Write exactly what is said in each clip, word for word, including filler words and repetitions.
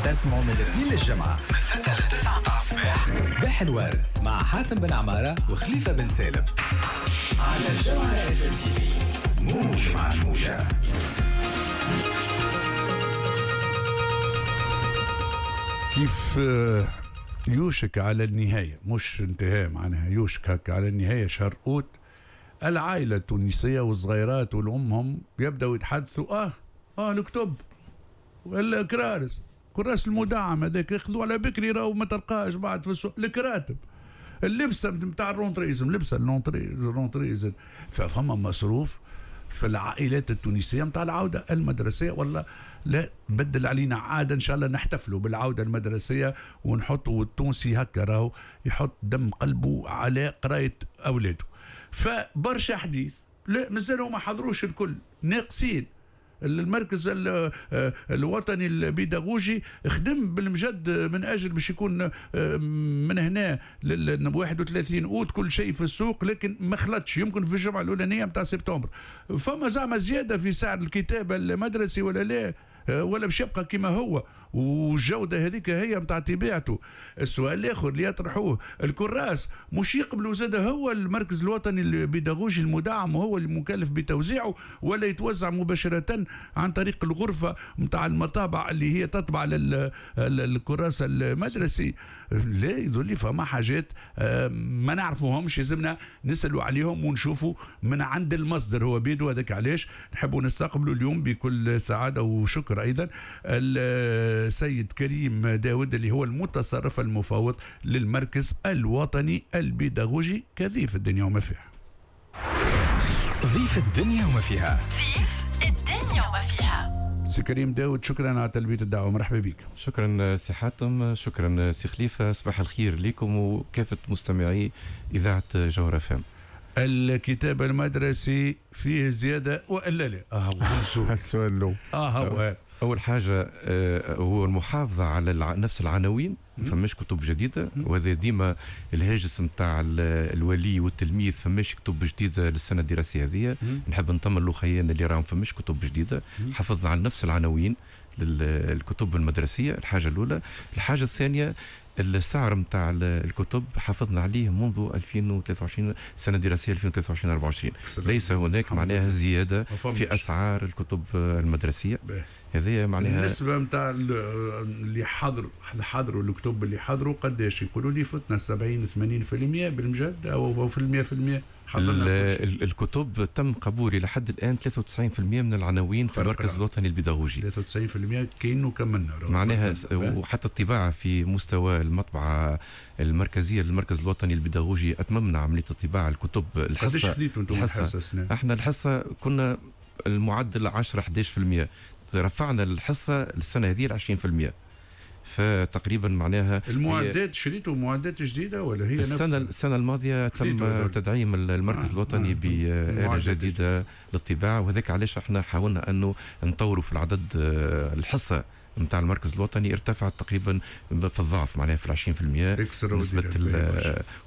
تسمعوا من الاثنين للجمعة من ستة ل تسعة متاع الصباح. صباح الورد مع حاتم بن عمارة وخليفة بن سالم على الجوهرة اف ام تي في، موج مع الموجة. كيف يوشك على النهاية، مش انتهاء معناها، يوشك هكا على النهاية شهر أوت، العائلة التونسية والصغيرات والأمهم يبدأوا يتحدثوا اه اه الكتب الكرارس، كراس المدعم هذاك ياخذوا على بكري راهو ما تلقاهش بعد في السوق، الكراتب، اللبسه نتاع ال rentrée، اللبسه ال rentrée ال rentrée. ففما مصروف في العائلات التونسية نتاع العودة المدرسية. والله لا بدل علينا عادة، ان شاء الله نحتفلوا بالعودة المدرسية ونحطوا التونسي هكا راهو يحط دم قلبه على قرايه اولاده. فبرشا حديث لا مازالوا ما حضروش الكل، ناقصين. المركز الوطني البيداغوجي خدم بالمجد من اجل باش يكون من هنا لل واحد وثلاثين اوت كل شيء في السوق، لكن ما خلطش، يمكن في الجمعة الاولانية نتاع سبتمبر. فما زعما زيادة في سعر الكتاب المدرسي ولا لا، ولا باش يبقى كما هو، والجودة هذيك هي نتاع طبيعته. السؤال الاخر اللي يطرحوه الكراس، مش يقبلوا زاد هو المركز الوطني البيداغوجي المدعم وهو المكلف بتوزيعه، ولا يتوزع مباشرة عن طريق الغرفة نتاع المطابع اللي هي تطبع للكراس المدرسي؟ لا يظل فما حاجات ما نعرفوهمش، لازمنا نسالوا عليهم ونشوفوا من عند المصدر هو بيدو. هذاك علاش نحبوا نستقبلوا اليوم بكل سعادة وشكر ايضا السيد كريم داود اللي هو المتصرف المفوض للمركز الوطني البيداغوجي كضيف الدنيا وما فيها. ضيف الدنيا وما فيها، ضيف الدنيا وما فيها. سي كريم داود، شكرا على تلبية الدعوة، مرحبا بك. شكرا سي حاتم، شكرا سي خليفة، صباح الخير لكم وكافة مستمعي إذاعة جوهرة فام. الكتاب المدرسي فيه زيادة وإلا لا؟ آه هو السؤال. السؤال له. آه هو أول حاجة هو المحافظة على نفس العناوين، فماش كتب جديدة، وهذا ديما الهاجس نتاع الولي والتلميذ، فماش كتب جديدة للسنة الدراسية هذه. نحب نطمن الأخيان اللي راهم فماش كتب جديدة، حافظنا على نفس العناوين للكتب المدرسية. الحاجة الأولى. الحاجة الثانية، السعر نتاع الكتب حافظنا عليه منذ ألفين وثلاثة وعشرين، السنة الدراسية ألفين وثلاثة وعشرين أربعة وعشرين، ليس هناك معناها زيادة في اسعار الكتب المدرسية. هذه معناها النسبة نتاع اللي حضروا حضروا الكتب اللي حضروا قداش؟ يقولوا لي فتنا سبعين ثمانين بالمئة بالمجد او في المية في المية حضرنا الكتب. تم قبول الى حد الان ثلاثة وتسعين بالمئة من العناوين في المركز الوطني البيداغوجي. ثلاثة وتسعين بالمئة كاين وكملنا معناها، وحتى الطباعة في مستوى المطبعة المركزية للمركز الوطني البيداغوجي اتممنا عملية الطباعة الكتب. الحصة قداش خذيتوا انتم الحصة؟ احنا الحصة كنا المعدل عشرة أحد عشر بالمئة، رفعنا الحصة السنة هذه ل عشرين بالمئة، فتقريبا معناها المعدات. شريتوا معدات جديدة ولا هي السنة السنة الماضية تم تدعيم المركز آه الوطني آه بآلة جديدة للطباعة، وهذاك علاش احنا حاولنا انه نطوروا في العدد. الحصة نتاع المركز الوطني ارتفعت تقريبا في الضعف، معناها في عشرين بالمئة نسبة،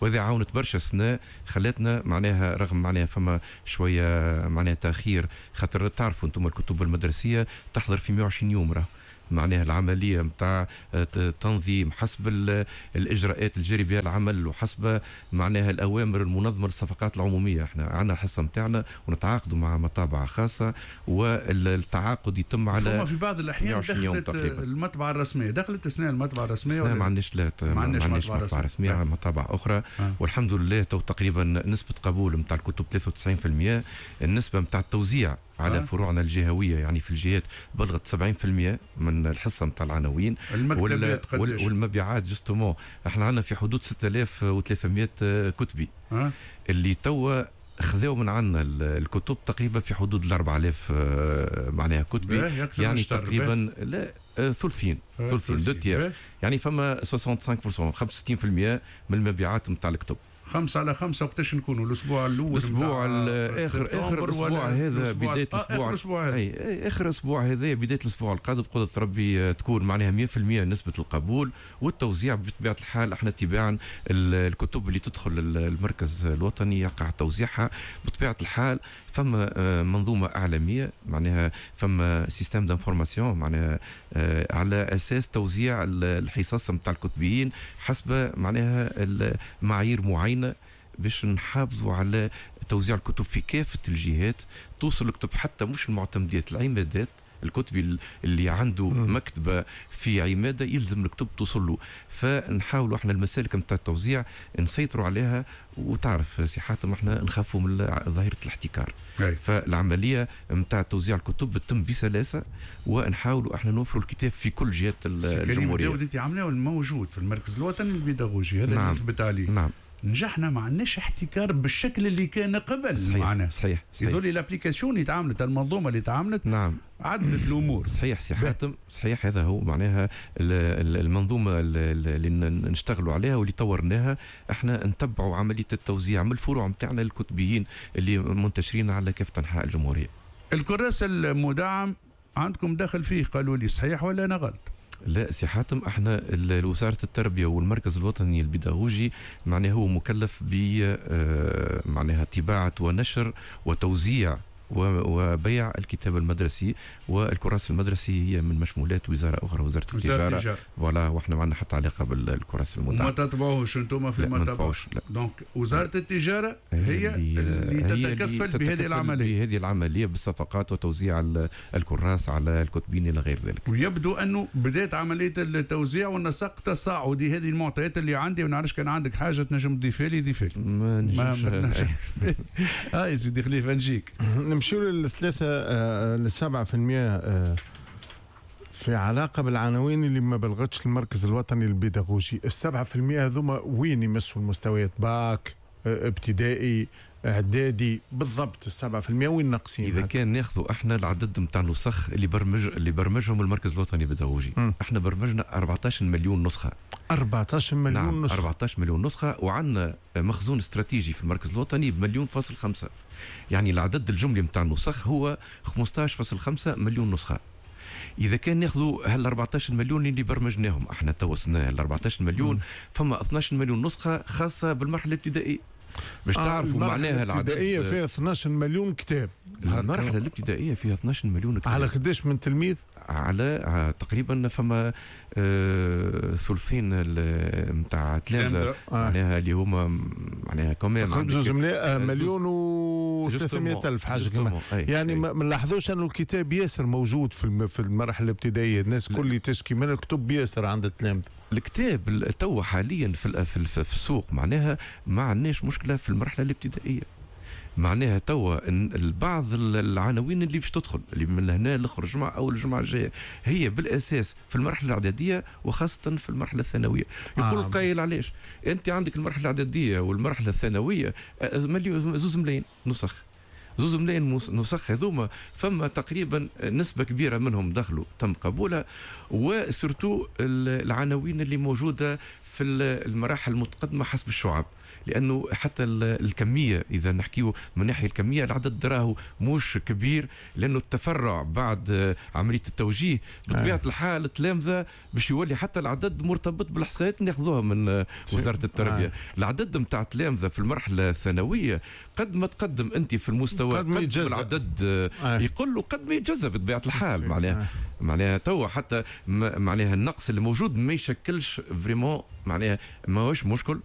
وهذا عاونت برشا سنة، خلتنا معناها رغم معناها فما شوية معناها تأخير، خاطر تعرفوا انتم الكتب المدرسية تحضر في مئة وعشرين يوم، راه معناها العملية نتاع تنظيم حسب الإجراءات الجاري بها العمل وحسب معناها الأوامر المنظمة للصفقات العمومية. احنا عندنا الحصة نتاعنا ونتعاقدوا مع مطابع خاصة، والتعاقد يتم على في بعض الأحيان دخلت المطبعة الرسمية، دخلت السنة المطبعة الرسمية ولا ما عندناش؟ لا ما عندناش مطبعة رسمية، آه. مطابع أخرى. آه. والحمد لله تو تقريبا نسبة قبول نتاع الكتب ثلاثة وتسعين بالمئة، النسبة نتاع التوزيع على آه. فروعنا الجهوية يعني في الجهات بلغت سبعين بالمئة من الحصة نتاع العناوين. المكتبات وال والمبيعات justement احنا عندنا في حدود ستة آلاف وثلاثمئة كتبي آه. اللي توا خذاو من عندنا الكتب تقريبا في حدود ال أربعة آلاف معناها كتبي، يعني تقريبا لا ثلثين ثلثين deux tiers، يعني فما خمسة وستين بالمئة خمسة وستين بالمئة من المبيعات نتاع الكتب. خمسة على خمسة وقتاش نكونوا؟ الاسبوع الاول؟ الاسبوع اخر اخر الاسبوع هذا، بداية الاسبوع، آه اخر اسبوع هذا. اي، اخر اسبوع هذا، بداية الاسبوع القادم بقدره ربي تكون معناها مية في المية نسبه القبول والتوزيع. بطبيعة الحال احنا تباعا الكتب اللي تدخل المركز الوطني يقع توزيعها. بطبيعة الحال فما آه، منظومة اعلاميه، معناها فما système d'information، معناها آه، على اساس توزيع الحصص نتاع الكتبيين حسب معناها المعايير معينة باش نحافظوا على توزيع الكتب في كافة الجهات، توصل الكتب حتى مش المعتمديات، العمادات، الكتبي اللي عنده مكتبه في عماده يلزم الكتب توصل له. فنحاولوا احنا المسالك نتاع التوزيع نسيطروا عليها، وتعرف سي حاتم احنا نخافوا من ظاهره الاحتكار. أي. فالعملية نتاع توزيع الكتب تتم بسلاسة ونحاولوا احنا نوفروا الكتاب في كل جهات الجمهوريه. انت عملناه الموجود في المركز الوطني البيداغوجي هذا، نعم. اللي نثبت عليه. نعم. نجحنا، ما عندناش احتكار بالشكل اللي كان قبل. صحيح. معنا صحيح صحيح. يظل l'application اللي تعملت، المنظومة اللي تعملت، نعم عدلت الامور. صحيح سي حاتم، صحيح. هذا هو معناها المنظومة اللي نشتغلوا عليها واللي طورناها. احنا نتبعوا عملية التوزيع من الفروع نتاعنا للكتبيين اللي منتشرين على كافة انحاء الجمهوريه. الكراس المدعم عندكم دخل فيه قالوا لي، صحيح ولا انا غلط؟ لا سي حاتم، احنا وزارة التربية والمركز الوطني البيداغوجي معناها هو مكلف ب آه، معناها طباعه ونشر وتوزيع وبيع الكتاب المدرسي، والكراس المدرسي هي من مشمولات وزارة اخرى، وزارة التجاره. voilà، واحنا ما عندنا حتى علاقة بالكراس المدعم. ما تطبعوش انتم في ما تطبعوش، لا. donc وزارة التجارة هي اللي, اللي تتكفل بهذه العمليه. بهذه العمليه، بالصفقات وتوزيع الكراس على الكتبين الى غير ذلك. ويبدو انه بدات عملية التوزيع والنسق تصاعدي. هذه المعطيات اللي عندي، ما نعرفش كان عندك حاجة تنجم تضيفها لي ضيفها لي. ما نجمش. هاي سيدي خليفة نجيك. نمشيو للثلاثة آه، للسبعة في المية آه، في علاقة بالعناوين اللي ما بلغتش المركز الوطني البيداغوجي. السبعة في المية هذوما وين يمسوا المستويات؟ باك، آه، ابتدائي، اعدادي؟ بالضبط السبعة في المية وين ناقصين؟ اذا كان ناخذوا احنا العدد نتاع النسخ اللي برمج اللي برمجهم المركز الوطني البيداغوجي، احنا برمجنا أربعطاش مليون نسخه. أربعطاش مليون؟ نعم. نسخه. أربعطاش مليون نسخه، وعندنا مخزون استراتيجي في المركز الوطني بمليون فاصل خمسة، يعني العدد الجملي نتاع النسخ هو خمسطاش فاصل خمسة مليون نسخه. اذا كان ناخذوا هال أربعطاش مليون اللي برمجناهم احنا توا سنة، ال أربعطاش مليون فما اثناش مليون نسخه خاصة بالمرحلة الابتدائية باش آه تعرفوا معناها العدد. الابتدائية فيها اثناش مليون كتاب؟ المرحلة الابتدائية فيها اثناش مليون كتاب. على قداش من تلميذ؟ على تقريبا فما آه ثلثين نتاع تلامذه آه. معناها اللي هما معناها quand même زوز مليون و ثلاثمية الف حاجه. يعني ما نلاحظوش انه الكتاب ياسر موجود في في المرحلة الابتدائيه؟ الناس كل تشكي من الكتب ياسر عند التلامذه. الكتاب تو حاليا في في السوق معناها ما عندناش مشكلة في المرحلة الابتدائيه. معناها توا البعض العناوين اللي باش تدخل اللي من هنا لاخر الجمعة او الجمعة الجاية هي بالاساس في المرحلة الاعدادية وخاصة في المرحلة الثانويه. يقول آه. القائل علاش انت عندك المرحلة الاعدادية والمرحلة الثانوية آه، مليون، زوز ملايين نسخ؟ زوز ملايين نسخ هذوما فما تقريبا نسبة كبيرة منهم دخلوا، تم قبولها، و surtout العناوين اللي موجودة في المراحل المتقدمة حسب الشعب، لانه حتى الكميه، اذا نحكيو من ناحية الكميه، العدد راهو مش كبير، لانه التفرع بعد عملية التوجيه بطبيعة آه. الحال التلامذه باش يولي حتى العدد مرتبط بالاحصائيات اللي ناخذوها من وزارة التربيه. آه. العدد نتاع التلامذه في المرحلة الثانويه، قد ما تقدم انت في المستوى قد ما قد العدد آه. يقل وقد ما يتجزا بطبيعة الحال. معناها آه. معناها توا حتى معناها النقص اللي موجود ما يشكلش vraiment، معناها ماهوش مشكل.